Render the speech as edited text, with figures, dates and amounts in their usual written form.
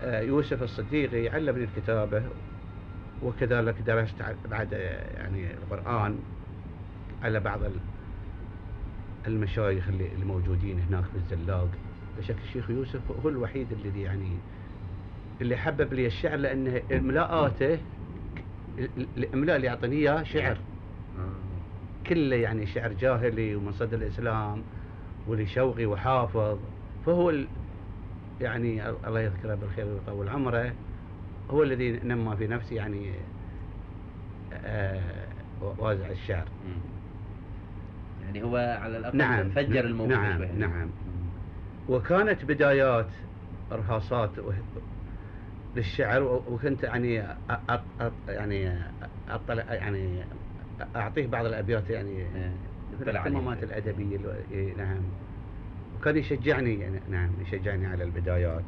يوسف الصديقي علمني الكتابة، وكذلك درست بعد يعني القرآن على بعض المشايخ اللي موجودين هناك في الزلاق. بشكل الشيخ يوسف هو الوحيد الذي يعني اللي حبب لي الشعر، لأنه إملاءاته الإملاء اللي يعطيني إياه شعر كله يعني شعر جاهلي ومن صدر الإسلام ولشوقي وحافظ. فهو يعني الله يذكره بالخير ويطول عمره، هو الذي نمى في نفسي يعني وازع الشعر. يعني هو على الأقل نعم فجر الموضوع. نعم نعم. وكانت بدايات رهاصات للشعر، وكنت يعني يعني أطلع يعني أعطيه بعض الأبيات يعني في الاهتمامات الأدبية. نعم. وكان يشجعني يعني نعم يشجعني على البدايات.